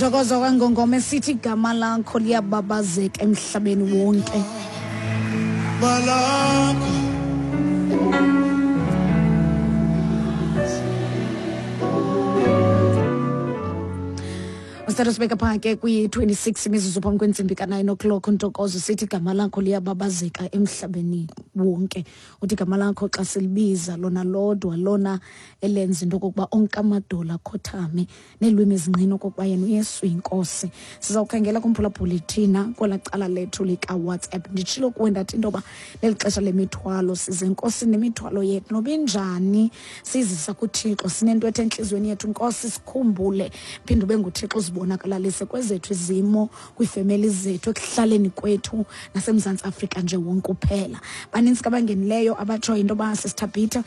Ntokozo kwangongoma esithi igama lakho liyababazeka emhlabeni wonke. Malakho. Usithatha sibeka phaa ke kwi-26 imizuzu phambi kwentsimbi ka-9 o'clock. Ntokozo, sithi igama lakho liyababazeka emhlabeni wonke. Uthi igama lakho xa silibiza lona lodwa lona elenza into okokuba onke amadolo akhothame neelwimi ezinqina okokuba yena uYesu yinkosi. Sizawukhangela kumphulaphuli thina kwelaa cala lethu likaWhatsApp. Nditshilo kuwe ndathi into yoba leli xesha lemithwalo, size enkosini nemithwalo yethu noba injani, sizisa kuThixo. Sinento ethe entliziyweni yethu, Nkosi sikhumbule, phinde ube nguThixo uzibonakalalise kwezethu izimo, kwiifemeli zethu, ekuhlaleni kwethu naseMzantsi Afrika nje wonke uphela. Banintsi ke abangenileyo abatshoyo into yoba sisithabhitha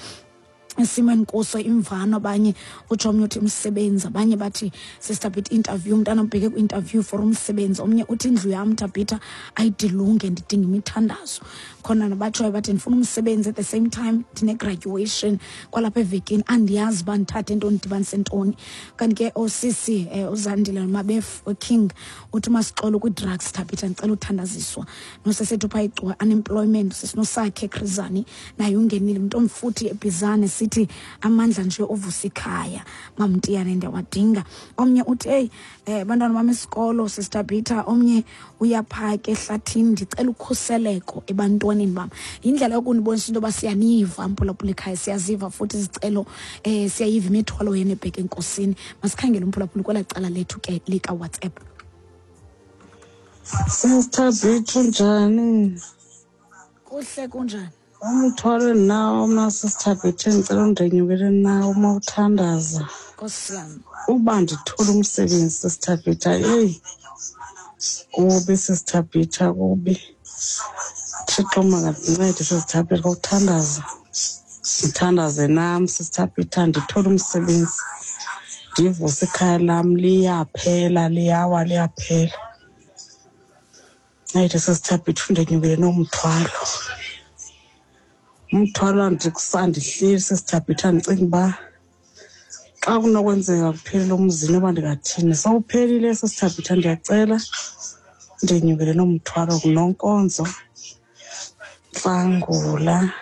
isimo endikuso, imvano. Abanye utsho, omnye uthi umsebenzi, abanye bathi, Sister Bit, interview, umntana ubheke kwi-interview for umsebenzi. Omnye uthi indlu yam, Thabitha, ayidilunge, ndidinga imithandazo. Khona nabatshoyo bathi ndifuna umsebenzi, at the same time ndine-graduation kwalapha evekini, andiyazi uba ndithathe ntoni, ndidibanise ntoni. Kanti ke osisi uZandile Mabef King uthi uMasixolo kwii-drugs, Thabitha, ndicela uthandaziswa. Nosesethu phaa iGcuwa, unemployment. Sisinosakhe Krizani naye ungenile, mntu omfuthi eBhizane, sithi amandla nje ovusa ikhaya, Mamtiyane, ndiyawadinga. Omnye uthi, eyi, bantwana bam isikolo, Sister Peter. Omnye uyaphaka ehlathini, ndicela ukhuseleko ebantwaneni bam. Yindlela yokunibonisa into yoba siyaniva, mphulaphula ekhaya, siyaziva futhi izicelo, siyayiva imithwalo yenu ebheke enkosini. Masikhangele umphulaphula kwelaa cala lethu ke likaWhatsApp. Sister Bithu, njani? Kuhle, kunjani? Umthwalo endinawo mna, Sister Bithu, endicela undenyukele nawo uma uthandaza. Nkosi yam. Uba ndithole umsebenzi, Sister Bitha, eyi, kubi, Sister Bitha, kubi. Thixo makandincede, Sister Bitha, ngokuthandaza. Ndithandaze nam, Sister Bitha, ndithole umsebenzi. Ndivuse ikhaya lam, liyaphela, liyawa, liyaphela. Ncede, Sister Bitha, undenyukele nomthwalo. Umthwalo andihleli, Sister Bitha, ndicinga uba xa kunokwenzeka kuphelele umzi noba ndingathini. Sowuphelile, Sister Bitha, ndiyacela ndenyukele nomthwalo. Nonkonzo Ntlangula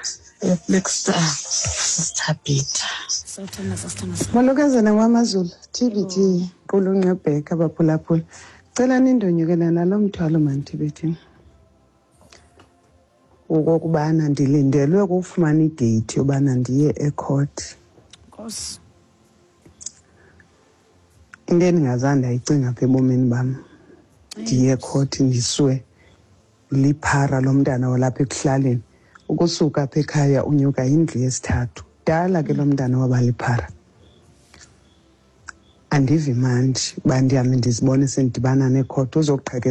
eFlagstaff, Sister Bitha. Sawuthandaza, sithandaza. Molokazana wamaZulu, TBT, qulunqebheka abaphulaphula. Cela nindonyukele nalo mthwalo mani, TBT. Okokubana ndilindelwe kufumana ideyithi yobana ndiye ecourt. Nkosi. Into endingazange ndayicinga apha ebomini bam. Ndiye ecourt ndiswe liphara lomntana walapha ekuhlaleni. Ukusuka apha ekhaya unyuka indlu yesithathu. Dala ke lo mntana waba liphara. Andivi mandi uba ndihambe ndizibone sendidibana nekhoti uzoqhekeza.